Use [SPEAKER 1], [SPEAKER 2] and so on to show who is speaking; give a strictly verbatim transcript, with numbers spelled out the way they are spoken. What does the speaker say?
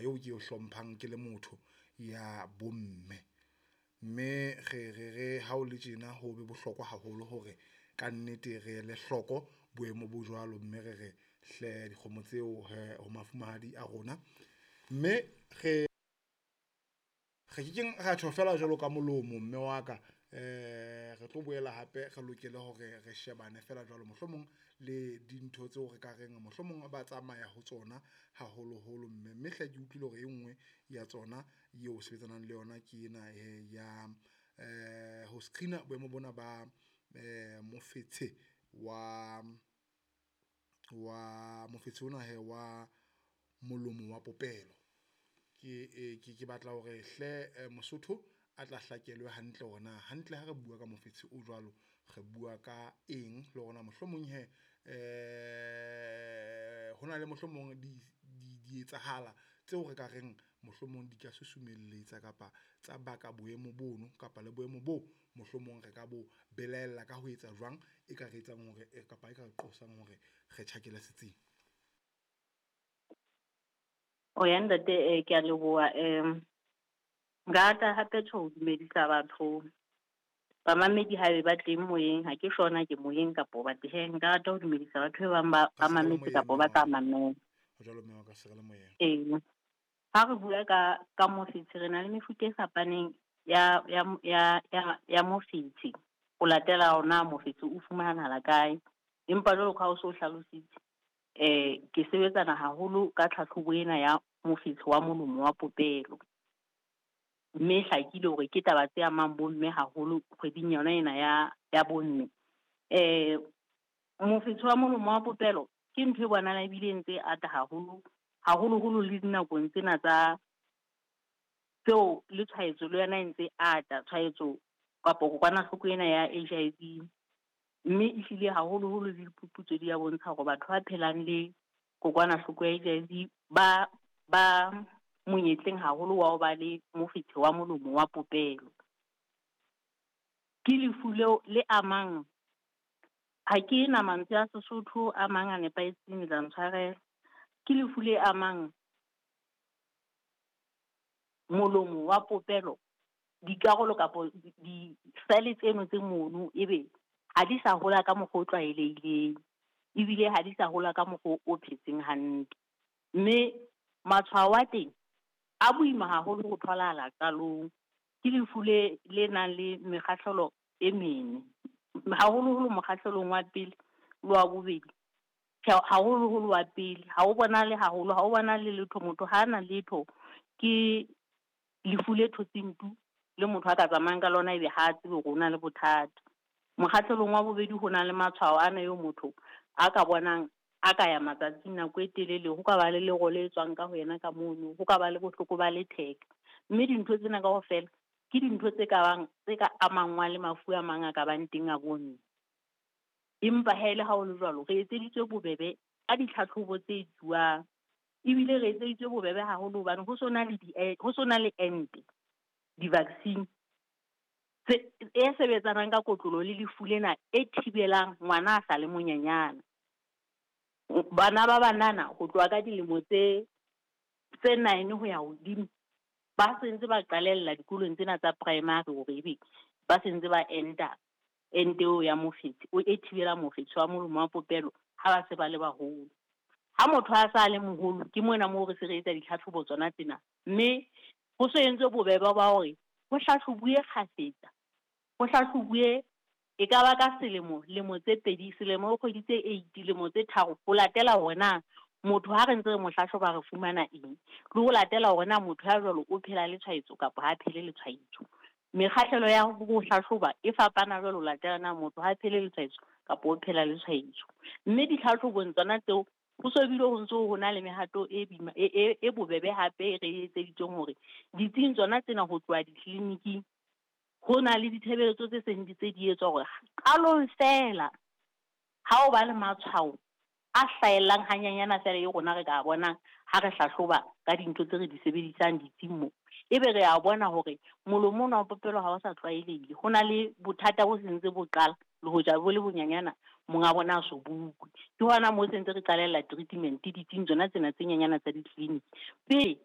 [SPEAKER 1] eo ke e hlomphang ke le motho ya bomme. Mme re re re ha o le tjena ho be bohlokwa haholo hore kannete re ele hloko boemo bo jwalo, mme re re hle dikgomo tseo hee ho mafumahadi a rona. Mme re re kekeng ra tjho feela jwalo ka molomo mme wa ka re tlo boela hape re lokele hore re shebane feela jwalo mohlomong le dintho tseo re ka reng mohlomong ba tsamaya ho tsona haholoholo mme. Mme hle ke utlwile hore e nngwe ya tsona eo sebetsanang le yona ke ena hee ya ho screen-a boemo bona ba mofetshe wa wa mofetshe ona hee wa molomo wa popelo. Ke ke batla hore hle Mosotho a tla hlakelwe hantle hore na hantle ha re bua ka mofetshe o jwalo, re bua ka eng le hore na mohlomong hee hona le mohlomong di di etsahala tseo re ka reng mohlomong di ka susumelletsa kapa tsa baka boemo bono kapa le boemo bo mohlomong re ka bo belaela ka ho etsa jwang, e ka re etsang hore kapa e ka re qosang hore re tjhakele setsing.
[SPEAKER 2] O ya ntate, ke a leboha. Nka rata hape tjho ho dumedisa batho, bamamedi haebe ba teng moyeng, ha ke sure na ke moyeng kapo ba hee. Nka rata ho dumedisa batho ba bang ba
[SPEAKER 1] Ka
[SPEAKER 2] ba
[SPEAKER 1] se re le
[SPEAKER 2] mametse
[SPEAKER 1] moyeng
[SPEAKER 2] kapa
[SPEAKER 1] mme
[SPEAKER 2] ba
[SPEAKER 1] wa
[SPEAKER 2] tla
[SPEAKER 1] ka.
[SPEAKER 2] mamela.
[SPEAKER 1] Ho jwalo mme wa ka, se re le moyeng.
[SPEAKER 2] Ee, ha re bua ka ka mofetshe re na le mefuta e fapaneng ya ya ya ya ya mofetshe. Ho latela hore na mofetshe o fumanahala kae. Empa jwalo ka ha o so hlalositse, ke sebetsana haholo ka tlhahlobo ena ya mofetshe wa molomo wa popelo. Mme e hlakile hore ke taba tse amang bomme haholo kgweding yona ena ya ya bomme. Mofetshe wa molomo wa popelo ke ntho e bonahalang ebile e ntse ata haholo, haholoholo le dinakong tsena tsa tseo le tshwaetso le yona e ntse ata, tshwaetso kapa kokwanahloko ena ya H I V. Mme ehlile haholoholo le diphuputso di a bontsha hore batho ba phelang le kokwanahloko ya H I V ba ba monyetleng haholo wa ho ba le mofetshe wa molomo wa popelo. Ke lefu leo le amang, ha ke na mantswe a Sesotho a mang a nepahetseng le tla ntshwarela. Ke lefu le amang molomo wa popelo, dikarolo kapa di-cell tseno tse mono ebe ha di sa hola ka mokgwa o tlwaelehileng, ebile ha di sa hola ka mokgwa o phetseng hantle. Mme matshwao a teng a boima haholo ho tholahala qalong. Ke lefu le le nang le mekgahlelo e mene, haholoholo mokgahlelong wa pele le wa bobedi. Tjhe, haholoholo wa pele ha o bonahale haholo, ha o bonahale letho, motho ha na letho. Ke lefu le thotseng tu le motho a ka tsamayang ka lona ebe ha tsebe hore o na le bothata. Mokgahlelong wa bobedi ho na le matshwao ana eo motho a ka bonang a ka ya matsatsing nako e telele, ho ka ba le lero le tswang ka ho yena ka mono, ho ka ba le bohloko ba letheka. Mme dintho tsena kaofela ke dintho tse ka bang tse ka amangwang le mafu a mang a ka bang teng a bomme. Empa ha ele ha ho le jwalo, re etseditswe bobebe ka ditlhatlhobo tse etsuwang. Ebile re etseditswe bobebe haholo hobane ho so na le di ho so na le ente, di-vaccine tse e sebetsanang ka kotloloho le lefu lena e thibelang ngwana a sa le monyenyana. Bana ba banana ho tloha ka dilemo tse tse nine ho ya hodimo ba sentse ba qalella dikolong tsena tsa primary hore ebe ba sentse ba enta ente eo ya mofetshe o e thibelang mofetshe wa molomo wa popelo ha ba se ba le baholo. Ha motho a sa le moholo ke mona moo re se re etsa ditlhatlhobo tsona tsena, mme ho so entswe bobebe ba hore ho hlahlobuwe kgafetsa, ho hlahlobuwe e ka ba ka selemo, lemo tse pedi, selemo kgwedi tse eight, lemo tse tharo, ho latela hore na motho ha re ntse re mo hlahloba re fumana eng, le ho latela hore na motho ya jwalo o phela le tshwaetso kapa ha phele le tshwaetso. Mekgahlelo ya ho hlahloba e fapana jwalo ho latela na motho ha phele le tshwaetso kapa o phela le tshwaetso. Mme ditlhahlobong tsona tseo ho so bile ho ntso ho na le mehato e boima e, e, e bobebe hape re etseditsweng hore ditsing tsona tsena ho tloha ditleliniking ho na le ditshebeletso tse seng di tse di etswa hore qalong feela ha o ba le matshwao a hlahellang hanyenyana feela e rona re ka bonang ha re hlahloba ka dintho tse re di sebedisang ditsing mo, ebe re a bona hore molomo ona wa popelo ha o sa tlwaelehile, ho na le bothata bo sentse bo qala le hoja bo le bonyanyana monga bona a so bukwe. Ke hona moo sentse re qalella treatment ditsing tsona tsena tse nyenyana tsa ditleliniki pele